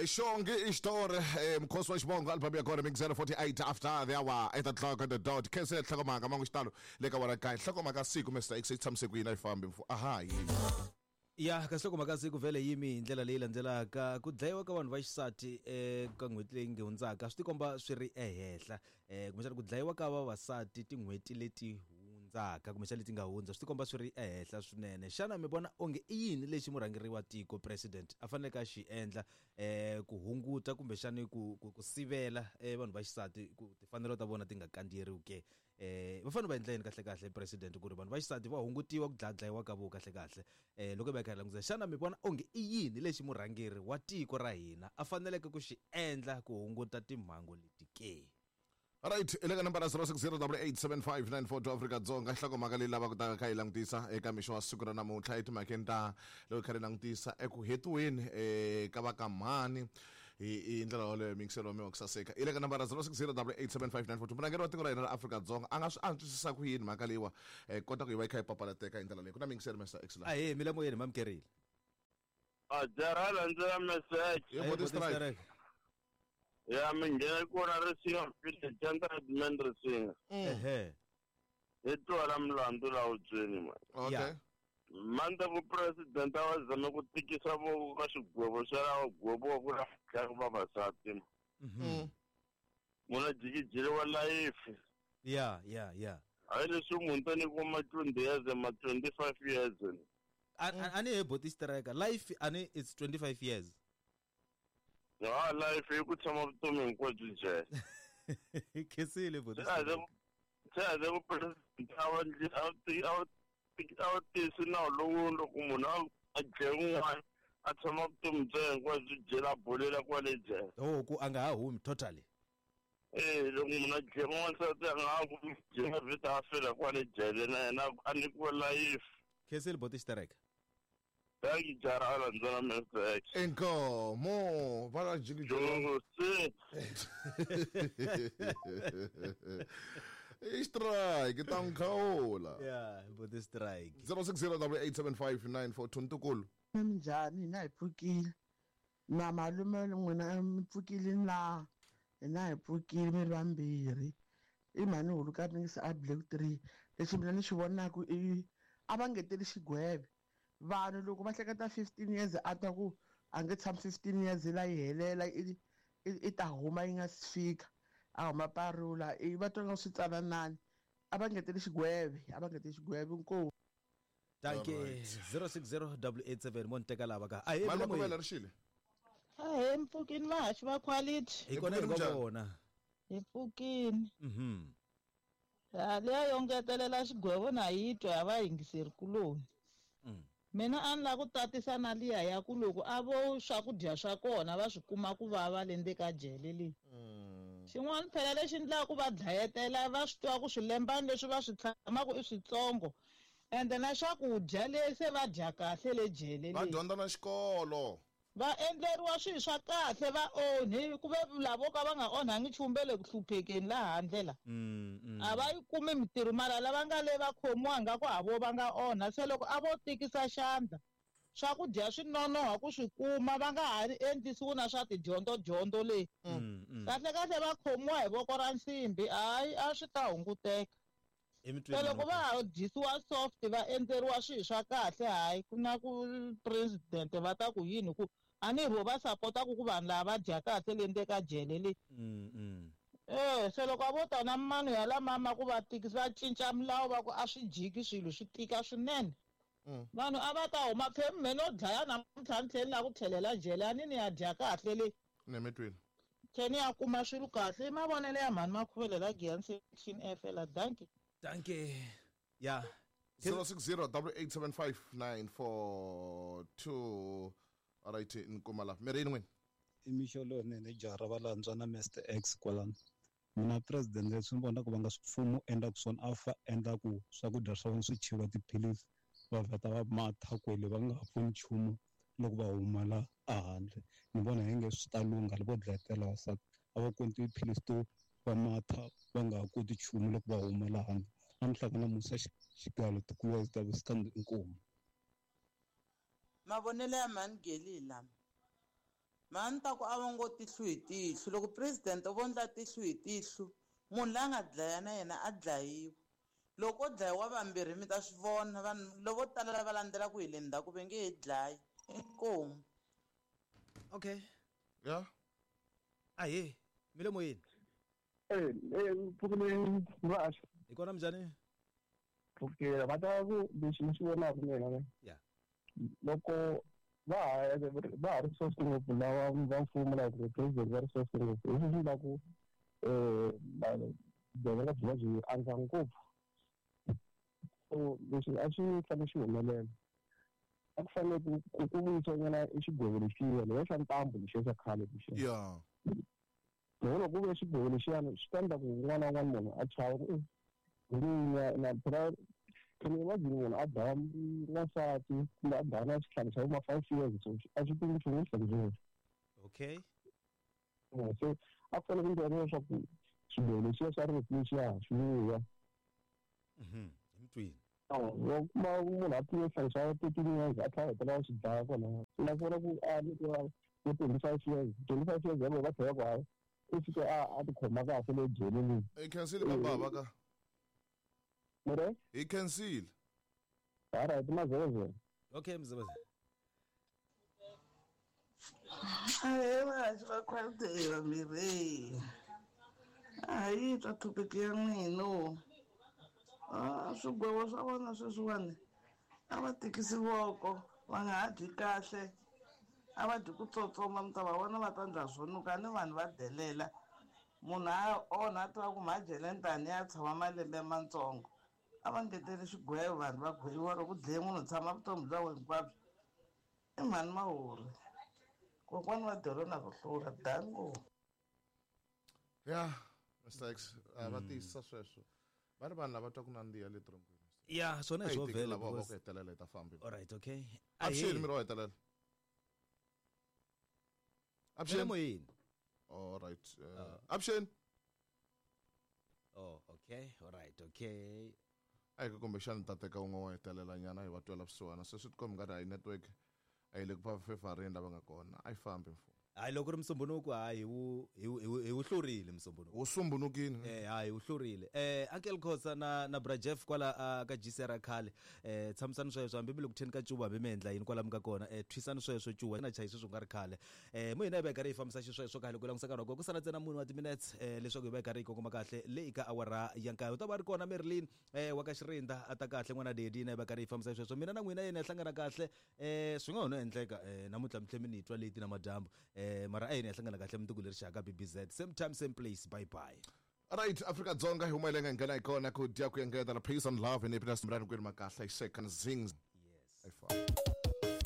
Xongi i xitori mukhosi wa xivongo album ya kona mixer 48 after the hour 8 o'clock on the dot. Khense nhlokomhaka mangu xitalo le ka wara kaye nhlokomhaka siku Mr X yi tshamise ku yini a yi fambi mfu aha yi. Ya ka nhlokomhaka siku vhele yimi hi ndlela leyi landzelaka ku dlayiwa ka vanhu va xisati eka n'hweti leyi nge hundzaka swi tikomba swi ri ehenhla kumbexana ku dlayiwa ka vavasati tin'hweti leti hundzaka kumbexana leti nga hundza swi tikomba swi ri ehenhla swinene xana mi vona onge i yini lexi murhangeri wa tiko president a faneleke a xi endla ku hunguta kumbexani ku ku ku sivela vanhu va xisati ku timfanelo ta vona ti nga kandziyeriwi ke va fanele va endla yini kahle kahle president ku ri vanhu va xisati va hungutiwa ku dlayadlayiwa ka vo kahle kahle loko hi va hi kha hi langutisa xana mi vona onge i yini lexi murhangeri wa tiko ra hina a faneleke ku xi endla ku hunguta timhangu leti ke? Right, i le ka nambara 0608875942 Afrika-Dzonga nhlokomhaka leyi lavaka ta kha yi langutisa eka mixo wa siku ra namuntlha etimhakeni ta loko kha ri langutisa eku hetiweni ka va ka mhani hi ndlela yoleyo miyingiselo wa mina wa ku saseka i le ka nambara 0608875942 murhangeri wa tiko ra hina ra Afrika-Dzonga a nga swi antswisisa ku yini mhaka leyiwa kota ku yi va yi kha yi papalateka hi ndlela leyi ku na miyingiselo Mr X la Ahee milamoyeni mamukerile. A jara landzela message. Hi boti strike. Ya mi nghena kona Risinga village Gentleman Risinga. Ehe. Hi twa la mulandu la hubyeni man. Okay. Yeah. Manda ku president a va zame ku tikisa voko ka xigwevo xa lava gweviwa ku la dlaya vavasati. Munhu a jikijeriwa life. Yeah, yeah, yeah. Hayi leswi munhu ta nyikiwa ma 20 years ma 25 years. A ni he boti striker life ani it's 25 years. Ha life i ku tshama vutomi hinkwabyo jele. Khensile boti. Se a ze ku president a va ndli a a a tisi nawu lowu loko munhu a dlaya un'wana a tshama vutomi bya yena hinkwabyo jele a bolela kwale jele. Oh ku a nga ha humi totally. Eh loko munhu a dlaya n'wansati a nga ha humi jele vheta a fela kwale jele na yena a nyikiwa life. Khensile boti striker. Thank you, Jara Alanzana Mr. X. Inkomo va la jikijelo. Se. I strike ta n'wi khawula. Yeah, boti strike. 0608875942 ntukulu. Minjhani hina hi pfukile na malume n'wina mi pfukile na hina hi pfukile mi ri vambirhi i mhani huluka mingisi a Black 3 lexi mina ni xi vonaka i a va ngeteli xigweve vanhu loko va hleketa 15 years a twa ku a nge tshami 15 years la yi helela i ta huma yi nga si fika a huma parula i va twa nga swi tsananani a va ngeteli xigweve a va ngeteli xigweve inkomu. Dankie 060887 mo ni teka lava ka. Ahee Mali Milamoyeni. Makovela ri xile. Ahee mpfukini vahaxi va quality. Hi kona hi Hi nga vona. Hi pfukini. Mhm. Ha leya yo ngetelela xigwevo na yi twa ya vayingiseri kuloni. Mina a ni lava ku tatisa na liya ya ku loko a vo swakudya swa kona va swi kuma ku vava le ndzeni ka jele leyi. Xin'wana phela lexi endlaka ku va dlayetela va swi tiva ku swilembana leswi va swi tshamaka i switsongo ende na swakudya le se va dya kahle le jele Va leyi. dyondza na xikolo. Va endleriwa swilo swa kahle va onhi ku ve lavo ka va nga onhangi nchumu ve le ku hluphekeni laha handle la. A va yi kumi mintirho mara lava nga le va khomiwa nga ku ha vo va nga onha se loko a vo tikisa xandla swakudya swi nonoha ku swi kuma va nga ha endlisiwi na swa tidyondzo dyondzo leyi. Kahle kahle va khomiwa hi voko ra nsimbi hayi a swi ta hunguteka. Se loko va ha dyisiwa soft va endleriwa swilo swa kahle hayi ku na ku president va ta ku yini ku a ni vo va sapotaku ku vanhu lava va dya kahle le ndzeni ka jele leyi. Se loko a vo ta na mano ya lamama ku va tikisa va cinca milawu va ku a swi jiki swilo swi tika swinene. Vanhu a va ta huma phe me no dlaya namuntlha ni tlhela ni lava ku tlhelela jele a ni ni ya dya kahle leyi. Nemetwini. Tlhela ni ya kuma swilo kahle i mavonelo ya mhani Makhuvele la Giyani section F la dankie. Dankie. Ya. 0608875942. All right, ni kuma la. Mirini n'wini. I mixo lowunene jaha va lantswa na Mr X kwalano. Mina president leswi ni vonaka va nga swi mfumo endlaku swona a fa endla ku swakudya swa vona swi cheriwa tiphilisi va vheta va matha kwele va nga ha pfuni nchumu loko va huma la a handle. Ni vona hi nge swi ta lungha loko vo dlayetela vavasati a va kumi tiphilisi to va matha va nga ha koti nchumu loko va huma la handle. A ni hlangana musa xigalo tikuwa ta stand inkomu. Mavonelo ya mhani Geli lama. Mhani ni ta ku a va ngo tihlo hi tihlo. Loko president vo ndla tihlo hi tihlo, munhu la nga dlaya na yena a dlayiwa. Loko ko dlayiwa vambirhi mi ta swi vona vanhu lavo tala lava landzelaka hi le ndzhaku va nge he dlayi. Inkomu. Okay. Ya. Ahee, mi le moyeni. Pfukile vaxo. Hi kona minjhani? Pfukile va ta ku lexi ni xi vonaka mina ne. Ya. Loko va ha ri soft ngopfu lava va mfumo like the president va ri soft ngopfu hi swi endla ku vugevenga byi va byi andza ngopfu. So leswi a swi fanele swi humelela a ku fanele ku vuyisiwa nyana i xigwevo lexiya lexa xa ntambu lexiya xa khale lexiya. Ya. Loko ku ve xigwevo lexiyani swi ta endla ku un'wana na un'wana munhu a chava ku na phela can you imagine munhu a dlaya n'wansati kumbe a dlaya na xihlangi xa vo ma 5 years so a swi tivi nchumu xihlangi xexo. Okay. So a ku fanele ku endliwa leswaku xigwevo lexiya xa rifu lexiya xi vuya. Hi mutwini. Wa kuma munhu a pfume xihlangi xa 13 years a tlhela a hetelela xi dlaya kwalaya. Na ku vona ku a nyikiwa vo 25 years, 25 years yaleyo va tlhela ku hayi u fike a tikhoma kahle le jele leyi. Hi khensile ka bava ka. Mure? Hi khensile. All right, mazevezele. Okay, mzevezele. Ahee vahaxi va quality vambirhi. A yi twa topic ya n'wina. Swigwevo swa vona sweswiwani a va tikisi voko, va nga ha dyi kahle, a va dyi ku tsotsoma mi ta va vona va ta ndla swo nuka ni vanhu va delela. Munhu a onha a tiva ku mhajele ntani ya tshama malembe matsongo. A va ngeteli xigwevo vanhu va gweviwa loko ku dlaye munhu tshama vutomi bya wena hinkwabyo. I mhani Mahuri. Kokwani va dolo na ku hlula dango. Ya, Mr X, va tiyisisa sweswo. Va ri vanhu lava twa ku nandziha le tronkweni. Ya, swona hi A hi swo teki vhela lava va ku because hetelela hi ta famba. All right, okay. Avuxeni miri wa hetelela. Avuxeni. Moyeni. All right. Avuxeni. Oh, okay. All right, okay. A hi ku kumbexani ta teka un'we wa hetelela nyana hi va twela vusiwana. Se swi tikomba nga ri hayi network a yi le ku va fefarini lava nga kona. A yi fambi mfumo. Hayi loko ri musumbunuko hayi hi wu hlurile musumbunuko. Wu sumbunukile. Hayi wu hlurile. Uncle Khosa na Bra Jeff kwala ka GCR khale. Tshamisani sweswo hambi mi le ku theni ka cuva hambi mi endla yini kwala mi nga kona. Thwisani sweswo cuva na chayi sweswo nga ri khale. Mo hina hi va hi karhi hi fambisa xisweswo kahle ku langusa nkarhi wa kona ku sala ntsena munhu wa ti-minutes leswaku hi va hi karhi hi kongoma kahle leyi ka awara ya nkaye. U ta va ri kona Merlin wa ka Xirinda a ta kahle n'wana Daddy na hi va karhi hi fambisa xisweswo. Mina na n'wina yena hi hlangana kahle swi nga ho no endleka namuntlha mi tlhe mi ni twa leti na madyambu. Mara a yini hi hlangana kahle mundzuku leri xaka BBZ same time same place bye bye. Right, Afrika Dzonga hi huma hi le nga nghena hi kona ku dya ku engetela peace and love ni phina simrani kwini makahla hi second zings. Yes. Hi famba.